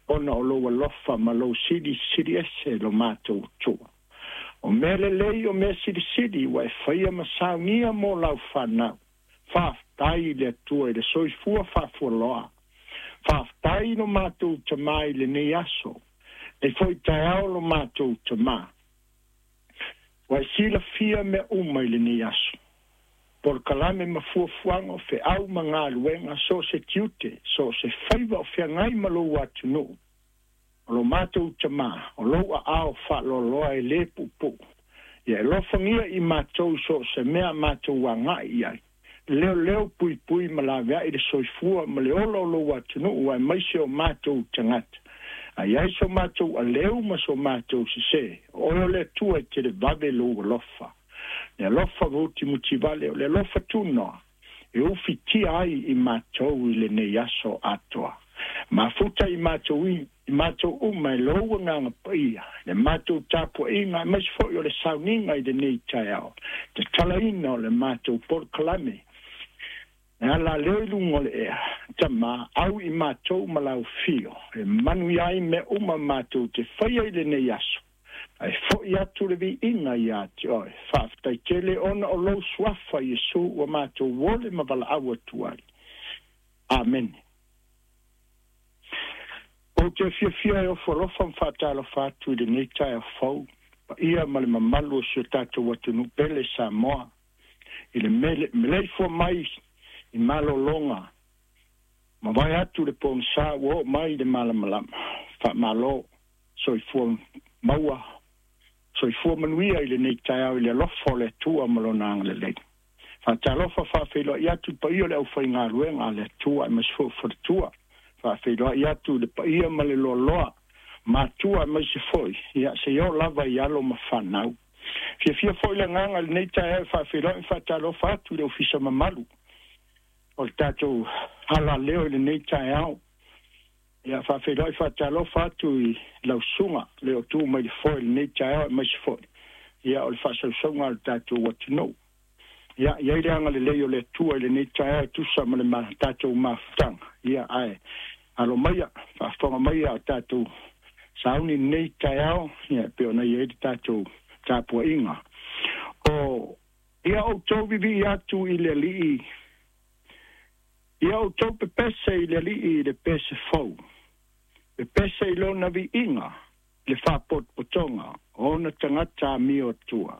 Ona o lou alofa ma lou silisili ese lo matou Atua. O mea lelei o mea silisili ua e faia ma saunia mo lau fanau. Faafetai i le Atua i le soifua faafualoa. Faafetai i lo matou Tamā i lenei aso. Nei foi taeao lo matou Tamā. Ua e silafia mea uma i lenei aso. Polokalame ma fuafuaga o feau ma galuega, so o se tiute, so o se faiva o feagai ma lou atunuu. O lo matou Tamā, o lou aao faaloaloa e lē puupuu. Ia e alofagia i matou so o se mea a matou agai i ai. Leoleo puipui ma laveai le soifua ma le ola o lou atunuu aemaise o matou tagata. A i ai so matou aleu ma so matou sesē, o oe o le Atua e televave lou alofa. Le alofa mutimutivale o le alofa tunoa e ufitia ai i matou i lenei aso atoa. Mafuta i matou i matou uma e lou Agaga Paia, le matou tapuaiga aemaise foi o le sauniga i lenei taeao, tatalaina o le matou polokalame. E ala leo i luga o le ea, Tamā, au i matou ma lau fio, e manuia ai mea uma matou te faia i lenei aso, ae fo'i atu le viiga iā te oe. Faafetai tele ona o lou suafa Iesu ua matou ole ma valaau atu ai. Amene. Ou te fiafia e ofo alofa ma faatalofa atu i lenei taeao fou, paia ma le mamalu o si o tatou atunuu pele Samoa, i le meleifua mai i malologa, mavae atu le pogisa ua oo mai i le malamalama. Faamalo, soifua maua, soifua manuia i lenei taeao i le alofa o le Atua ma lona agalelei. Faatalofa faafeiloai atu i le paia o le aufaigaluega a le Atua aemaise foi o faletua. Faafeiloai atu i le paia ma le loaloa, matua aemaise foi, ia seia oo lava i alo ma fanau. Fiafia foi le agaga i lenei taeao e faafeiloai ma faatalofa atu i le ofisa mamalu o le tatou alaleo i lenei taeao. Ia faafeiloai faatalofa atu i lau susuga le o tu mai le foe i lenei taeao aemaise foi ia o le faasausauga a le tatou atunuu. Ia i ai le agalelei o le Atua i lenei taeao e tusa ma le tatou mafutaga. Ia ae alo maia, faafofoga maia o tatou sauni i lenei taeao, ia e pei ona i ai le tatou tapuaiga. O ia outou vivii atu i le Alii, ia outou pepese i le Alii i le pese fou, pepese i lona viiga, le faapotopotoga o ona tagata amio atua.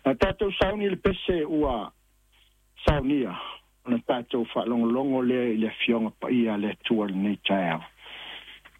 Na tatou sauni le pese ua saunia, ona tatou faalogologo lea i le Afioga Paia a le Atua i lenei taeao.